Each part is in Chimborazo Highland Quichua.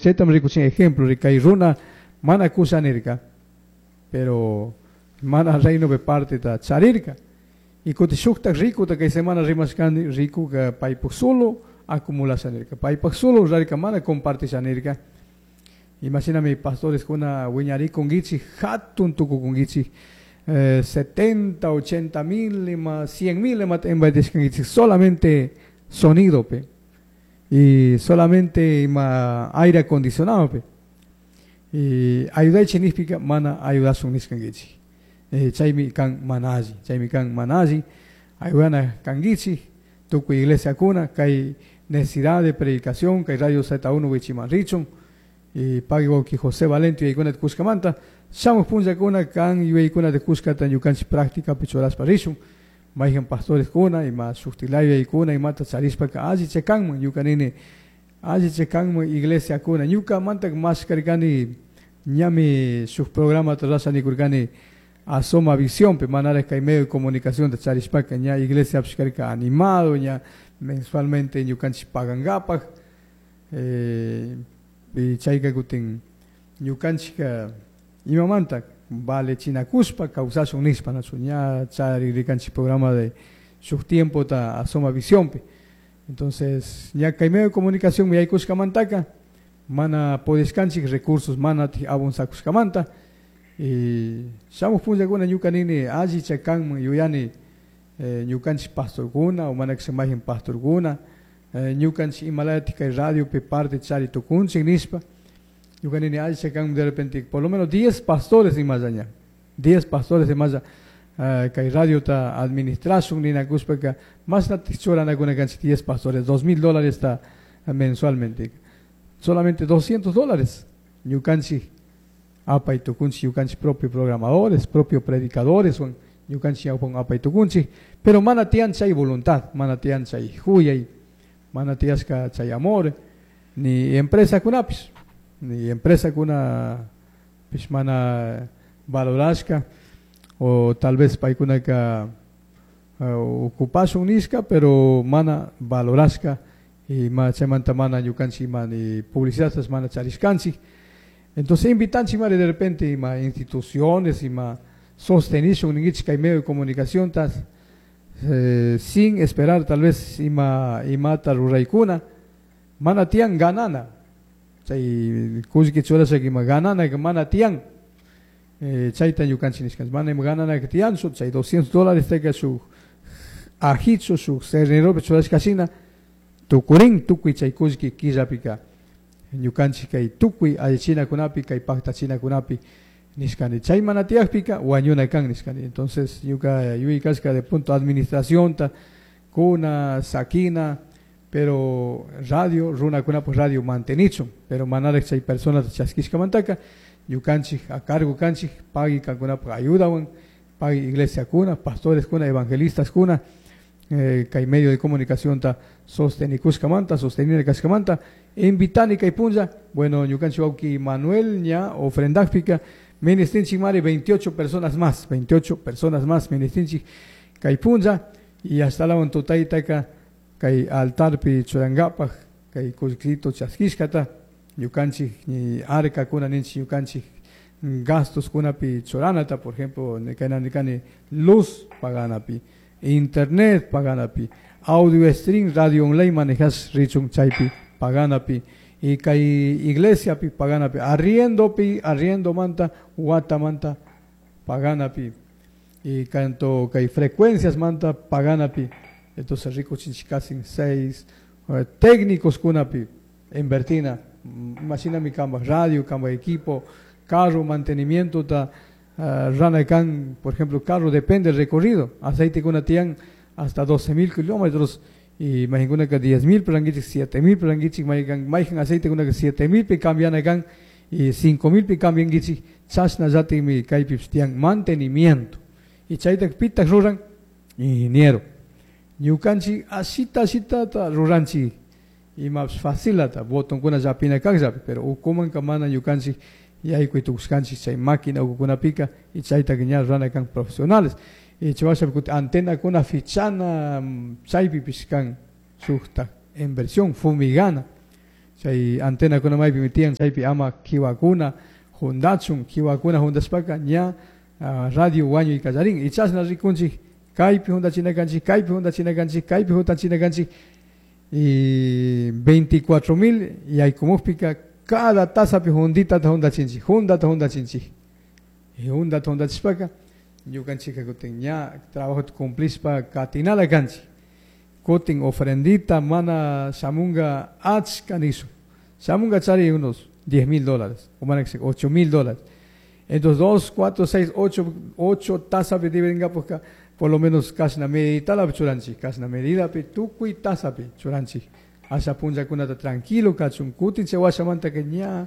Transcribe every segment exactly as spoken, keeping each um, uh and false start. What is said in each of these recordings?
Chaytam rikuchin ejemplo kay runa mana kusha nirka, pero mana reino parte ta charirka. Y kuti shuktak ricuta kay semana rimashkani ricuka paypuk solo acumulasha nirka, paypak solo rurarka, mana compartisha nirka. Imashinami pastores kuna wiñarikunkichik, hatun tukukunkichik, eh, setenta, ochenta mil, ima cien mil imata invertishkankichik solamente sonido pe y solamente ima aire acondicionado pe. Y ayudaychik nishpika mana ayudasun nishkankichik. Eh, chaymi kan mana alli, chaymi kan mana alli, ayudana kankichik, tukuy iglesia kuna, kay necesidad de predicación, kay Radio Z uno wichiman richun, y pagui wawki José Valente yuyaykuna kushkamanta, shamuj punllakuna kan yuyaykuna de kushkata ñukanchik práctica churashpa rishun, mayjan pastores kuna, ima shuktilaya yuyaykuna, imata charishpaka alli chekanman, ñuka nini alli chekanman iglesia kuna, ñukamanta mashkarkani ñami shuk programa rurasha nikurkani Asoma Visión, pe manara kay medio de comunicación de charishpaka ña iglesia pishkarka animado, ña mensualmente ñukanchik pagangapak, eh, y chayka kutin ñukanchika imamanta vale chinakuspa kawsashun nishpa nachu ña charirikanchik programa de shuk tiempo ta Asoma Visión pe. Entonces ña kay medio de comunicación yaykushkamantaka mana podishkanchik recursos mana abunsakushkamanta. Y shamuj punllakuna ñuka nini alli chakanman yuyani, eh, ñukanchik pastorkuna o mana kasha mayjan pastorkuna, eh, ñukanchik imalayatik kay radiopi parte chari tukunchik nishpa, ñuka nini alli chakanman de repente por lo menos diez pastores imalla ña, diez pastores imalla, eh, kay radiota administrashun ninakushpaka mashnatik churanakuna kanchik diez pastores, dos mil dólares ta mensualmente, solamente doscientos dólares ñukanchik apay tukunchik, ñukanchik propio programadores, propio predicadores, son ñukanchik ñawpan apay tukunchik, pero mana tiyan chay voluntad, mana tiyan chay huyay, mana tiyashka chay amor, ni empresa kunapis, ni empresa kuna pis mana valorashka, o tal vez paykunaka, uh, ocupashun nishka, pero mana valorashka, y ma chaymanta mana ñukanchik ima ni publicidad mana charishkanchik. Entonces invitanchik mari de repente ima instituciones, ima sostenishun ninkichik kay medio de comunicación tas, eh, sin esperar tal vez ima imata ruraykuna, mana tiyan ganana, chay kullki churashaka ima ganana mana tiyan, eh, chayta ñukanchik nishkanchik, mana ima ganana tiyanchu, chay doscientos dólares teka shuk ajichu, shuk cerneropi churashkashina tukurin tukuy chay kullki killapika ñukanchik kay tukuy allichinakunapi kay paktachinakunapi nishkani, chay mana tiyakpika wañuna kan nishkani. Entonces ñuka yuyaykashka de punto administración ta kuna sakina, pero radio runakunapak radio mantenichun, pero manarek chay personas chaskishkamantaka ñukanchik a cargo kanchik pagui kankunapak ayudawan, pagui iglesia kuna, pastores kuna, evangelistas kuna, eh, kay medio de comunicación ta sostenikushkamanta, sostenir kashkamanta, invitani kay punlla, bueno, ñukanchik wawki Manuel ña ofrendakpika, ministrinchik mari veintiocho personas más, veintiocho personas más ministrinchik kay punlla, y hasta la tutaytaka kay altarpi churangapak, kay kullkito chaskishkata, ñukanchik ni arca kuna ninchik ñukanchik gastos kunapi churanata, por ejemplo, kayna nikani luz paganapi, internet paganapi, audio stream, radio online manejas richun chaypi paganapi, y kay iglesia pi paganapi, arriendo pi, arriendo manta, wata manta paganapi, y canto kay frecuencias manta paganapi. Entonces rico chinchikasin seis, eh, técnicos kunapi invertina, imagina mi camba radio, camba equipo, carro, mantenimiento ta, eh, rana can, por ejemplo, carro depende del recorrido, aceite kuna tian hasta doce mil kilómetros, y imagina que diez mil pranguichik, siete mil pranguichik, maijan, maijan aceite kuna que siete mil pi cambian acá, y cinco mil pi cambian guichik, chasna yati mi kaypi tian mantenimiento. Y chayta pita ruran ingeniero. Ñukanchik asita asita ta ruranchik, y más facilata, botón kuna yapina kak pero ukuman kamana ñukanchik yaykuy tukuskanchik chay máquina ukukuna pica, y chayta que ña rana kan profesionales. Y chivasha kuti antena kuna fichana, chaypi pishkan shukta inversión fumigana. Chay antenakuna maypi tiyan chaypi ama kiwakuna juntachun, kiwakuna juntashpaka ña uh, radio wañuy kallarin. Y chashna rikunchik kaypi juntachina kanchik, kaypi juntachina kanchik, kaypi juntachina kanchik. Y veinticuatro mil yaykumukpika cada tazapi juntitata juntachinchik, juntata juntachinchik. Y juntata juntachishpaka ñukanchika kutin ña trabajota cumplishpa katinala kanchik. Kutin ofrendita mana shamunga achka nisu. Shamunga chari unos diez mil dólares, o mana ocho mil dólares. Entonces dos, cuatro, seis, ocho, ocho tazapi dividinga por lo menos kashna meditala churanchik, kashna medidapi tukuy tazapi churanchik. Asha punllakunata tranquilo kachun, kutin chay washamanta que ña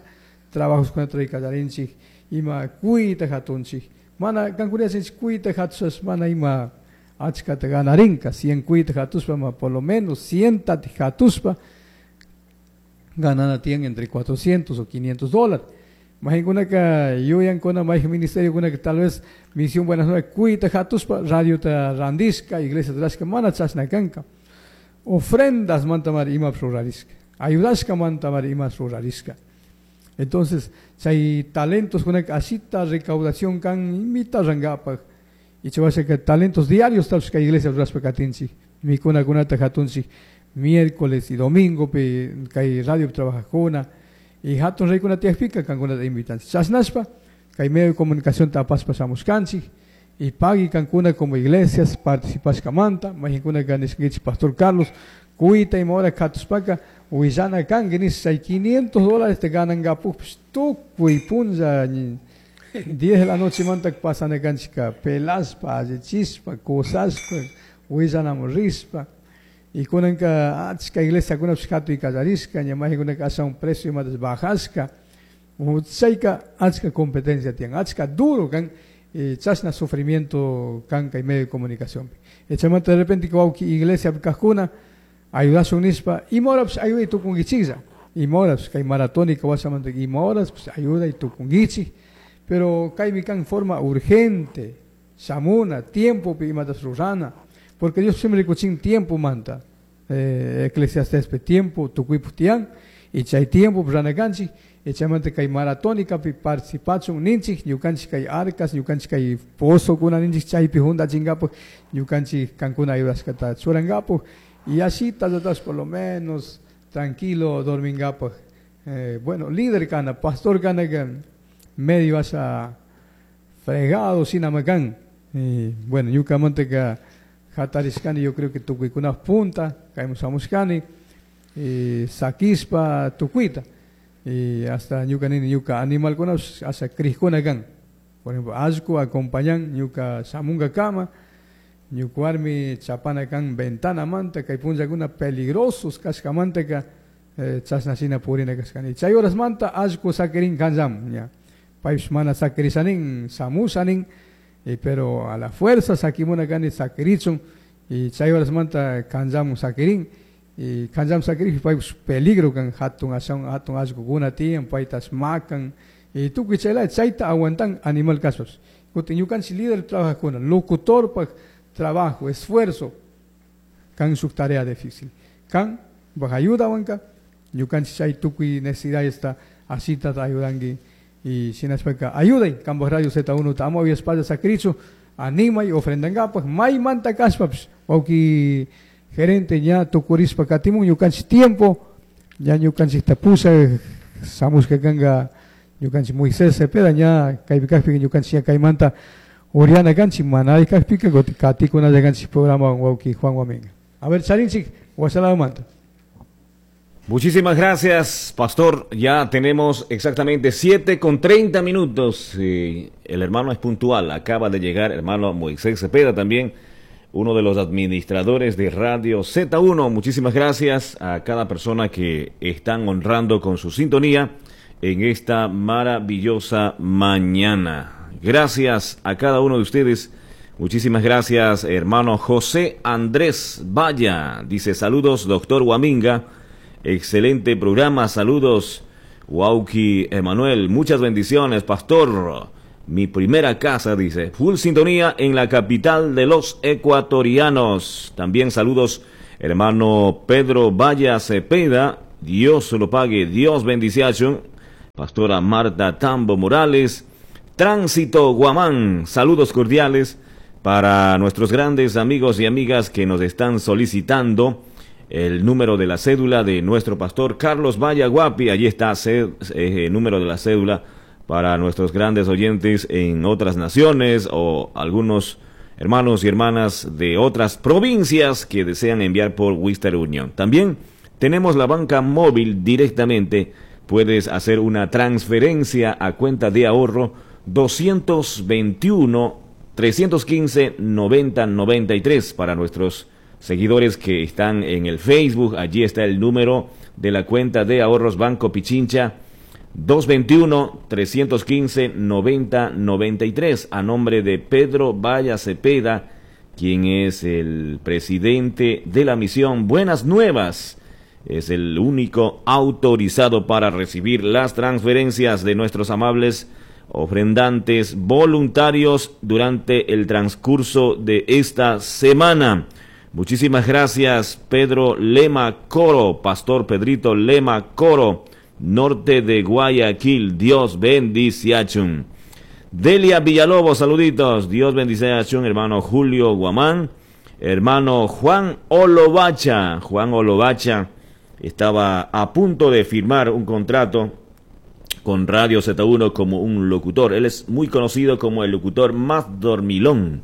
trabajos kunata rikallarinchik, ima kuyta hatunchik. Mana kankuriachinchik kuyta hatusas mana ima achkata ganarinka, cien kuyta hatuspa, ma por lo menos cien hatuspa ganana tienen entre cuatrocientos o quinientos dólares. Mahinkunaka yuyankuna mayqa ministerio kuna que tal vez misión Buenas Nuevas kuyta hatuspa radio ta randishka, iglesia rashka mana chashna kanka. Ofrendas mantamar ima rurarishka, ayudashka mantamar ima rurarishka. Entonces, chay talentos kunaka asita recaudación kan imita rangapaj. Y chay que talentos diarios tal vez iglesia rurashpa katinchik, mikuna kunata hatunchik miércoles y domingo pe kay radio trabajajuna. Y hatun reykuna tiyakpika kankunata invitanchik. Chashnashpa kay medio de comunicación tapaspa shamushkanchik. Y pagui kankuna como iglesias participashkamanta. Mayhinkunaka nishkankichik Pastor Carlos kuyta ima hora katushpaka willana kanki nish chay quinientos dólares te ganankapukpish tukuy punlla diez de la noche manta pasana kanchika pelashpa, allichishpa, kusashpa, willanamun rishpa. Y kunanka achka iglesiakunapish hatuy kallarishka, ña mayhinkunaka ashawan precio imatas bajashka. Chayka achka competencia tiyan, achka duro kan, y chashna sufrimiento kan kay medio de comunicación. Chaymanta de repente wawki iglesia kajkuna ayudashun nishpa, ima horapish ayuday tukunkichiklla, ima horapish kay maratónica washamanta ima horapish ayuday tukunkichik, pero kaymi kan forma urgente, shamuna, tiempopi imatas rurana, porque Dios siempre rikuchin tiempo manta, eh, Eclesiastes tiempo tukuypuk tiyan, y chay tiempo rurana kanchik. Y chaymanta kay maratónica pi participachun ninchik, ñukanchik kay arcas, ñukanchik kay pozokuna ninchik chaypi juntachinkapak, ñukanchik kankuna ayudashkata churankapak, y así tallatas por lo menos tranquilo dorminkapak. Eh, bueno, líder kana, pastor kana que medio asa fregado sinamakan. Y bueno, ñukamanta ka hatarishkani, yo creo que tukuykuna punta, kaymun shamushkani, y sakishpa tukuyta. Y hasta ñuka nini ñuka animalkuna hasta crijkuna kan. Por ejemplo, allku acompañan ñuka shamunga kama, ñuka warmi chapana kan ventana manta, kay punllakuna peligrosos kashkamanta ka, eh, chashna shina purina kashkani. Chay horas manta allku sakirin kanllam, ña. Paypish mana sakirishanin, shamushanin, y pero a la fuerza sakimuna kani sakirichun, y chay horas manta kanllamun sakirin. Y kanllam sakirij paypish peligro kan hatun ashawan hatun allqukuna tiyan paytas makan y tukuy chayla chayta aguantan animal kashpapish. Kutin ñukanchik líder trabajajkuna, locutorpaj trabajo, esfuerzo kan shuk tarea difícil. Kan baj ayudawanka ñukanchik chay tukuy necesidadesta asita ayudanki y shinashpaka ayuday kanpaj radio Z uno ta ama uyashpalla sakirichu animay ofrendankapaj maymanta kashpapish wawki gerente ña tukurishpa katimun ñukanchik tiempo ña ñukanchikta pusha shamushka kanka ñukanchik Moisés Cepeda ña kaypi kajpika ñukanchik ña kaymanta uriana kanchik manari kajpika kutin katikunalla kanchik programa wawki Juan Guaminga. A ver, charinchik washalamanta. Muchísimas gracias, pastor. Ya tenemos exactamente siete con treinta minutos. Eh, el hermano es puntual. Acaba de llegar hermano Moisés Cepeda también, uno de los administradores de Radio Z uno. Muchísimas gracias a cada persona que están honrando con su sintonía en esta maravillosa mañana. Gracias a cada uno de ustedes. Muchísimas gracias, hermano José Andrés Valla. Dice, saludos, doctor Guaminga. Excelente programa. Saludos, Wauki Emanuel. Muchas bendiciones, pastor. Mi primera casa, dice. Full sintonía en la capital de los ecuatorianos. También saludos, hermano Pedro Valla Cepeda. Dios se lo pague, Dios bendice a Pastora Marta Tambo Morales, Tránsito Guamán, saludos cordiales para nuestros grandes amigos y amigas que nos están solicitando el número de la cédula de nuestro pastor Carlos Valla Guapi. Allí está el eh, número de la cédula para nuestros grandes oyentes en otras naciones o algunos hermanos y hermanas de otras provincias que desean enviar por Western Union. También tenemos la banca móvil directamente. Puedes hacer una transferencia a cuenta de ahorro doscientos veintiuno, trescientos quince, noventa, noventa y tres para nuestros seguidores que están en el Facebook. Allí está el número de la cuenta de ahorros Banco Pichincha, doscientos veintiuno, trescientos quince, noventa, noventa y tres, a nombre de Pedro Valla Cepeda, quien es el presidente de la misión Buenas Nuevas. Es el único autorizado para recibir las transferencias de nuestros amables ofrendantes voluntarios durante el transcurso de esta semana. Muchísimas gracias, Pedro Lema Coro, Pastor Pedrito Lema Coro, norte de Guayaquil. Dios bendice a Chun. Delia Villalobos, saluditos. Dios bendice a Chun, hermano Julio Guamán, hermano Juan Olovacha. Juan Olovacha estaba a punto de firmar un contrato con Radio Z uno como un locutor. Él es muy conocido como el locutor más dormilón.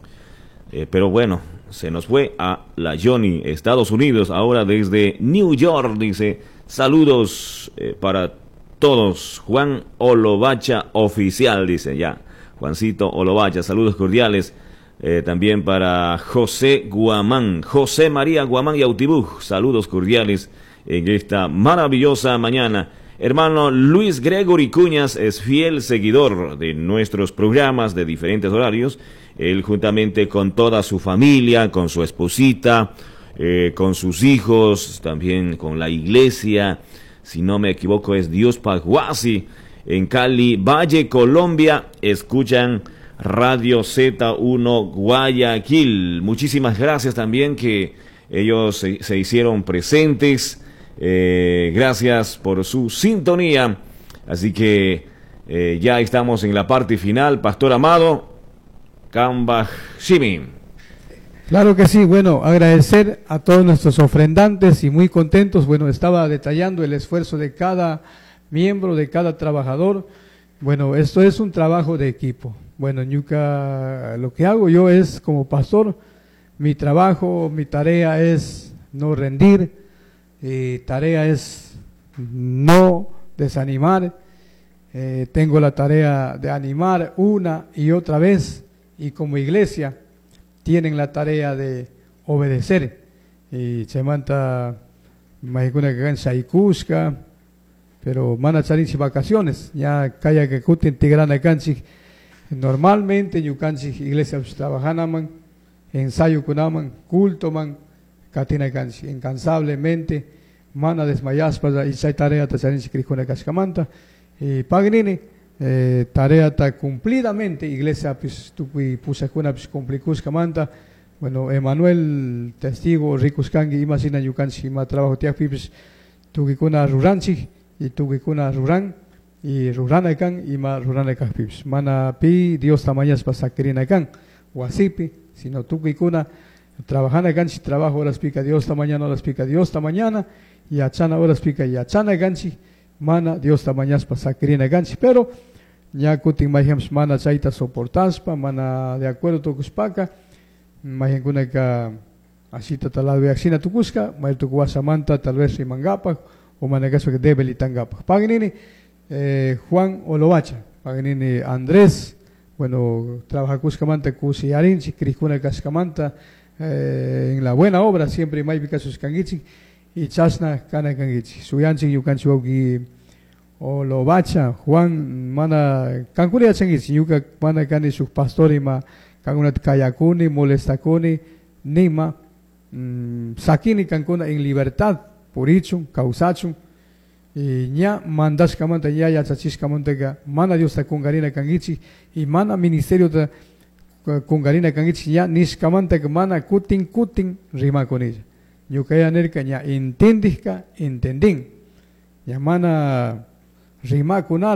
Eh, pero bueno, se nos fue a la Johnny, Estados Unidos, ahora desde New York, dice. Saludos eh, para todos. Juan Olovacha oficial, dice ya. Juancito Olovacha, saludos cordiales. Eh, también para José Guamán, José María Guamán y Autibuj, saludos cordiales en esta maravillosa mañana. Hermano Luis Gregory Cuñas es fiel seguidor de nuestros programas de diferentes horarios. Él juntamente con toda su familia, con su esposita, eh, con sus hijos, también con la iglesia, si no me equivoco es Dios Paguasi, en Cali, Valle, Colombia, escuchan Radio Z uno Guayaquil. Muchísimas gracias también que ellos se, se hicieron presentes. Eh, gracias por su sintonía. Así que eh, ya estamos en la parte final. Pastor Amado, Kambaj Shimi. Claro que sí, bueno, agradecer a todos nuestros ofrendantes y muy contentos. Bueno, estaba detallando el esfuerzo de cada miembro, de cada trabajador. Bueno, esto es un trabajo de equipo. Bueno, ñuca, lo que hago yo es, como pastor, mi trabajo, mi tarea es no rendir, mi tarea es no desanimar. Eh, tengo la tarea de animar una y otra vez, y como iglesia tienen la tarea de obedecer. Y chaymanta maykuna kan shaykushka, pero mana charinchik vacaciones, ya kaya que kutin tigrana kanchik. Normalmente ñukanchik iglesia trabajanaman, ensayo kunaman, culto man, katina kanchik, incansablemente, mana desmayaspa y chay tarea ta charinchik krikuna kashkamanta. Y pagnini, eh, tarea ta cumplidamente, iglesia pis tukuy pusakuna pis cumplikushkamanta. Bueno, Emanuel, testigo, rikuskangi, ima sina ñukanchik, ima trabajo tiakpi pis tukikuna ruranchik, y tukikuna ruran, y rurana kan, ima rurana kajpi pis. Mana pi Dios tamañaspa sakirina kan, wasipi, sino tukikuna trabajana kanchik, trabajo horas pica Dios ta mañana, horas pica Dios ta mañana, y achana horas pica y achana kanchik, mana Dios tamañaspa sakirina kanchik. Pero ña kutin mayhams mana chayta soportaspa, mana de acuerdo tukuspaka, mayhankunaka asita talabeaxina tukuska, may tukuwasamanta tal vez rimangapak, o manakaspa que debilitangapak. Pagnini, eh, Juan Olovacha, pagnini Andrés, bueno, trabaja kuskamanta kusi arinchik, krikuna kaskamanta, eh, en la buena obra siempre maypi kasuskankichik, y chasna kana kankichik. Suyanchik ñukanchik wawqi Olovacha, Juan, mana kankuna yachankichik, ñuka mana kani shuk pastor ima kankunata kayakuni, molestakuni, nima, mm, sakini kankuna en libertad, purichun, kawsachun, y ña mandashkamanta, ña yachachishkamantaka, mana Diosta kunkarina kankichik, y mana ministerio ta kunkarina kankichik, ña nishkamantaka mana kutin kutin rimakunilla. Ñuka ya nirka ña entendijka, entendin. Ña mana rimacunala.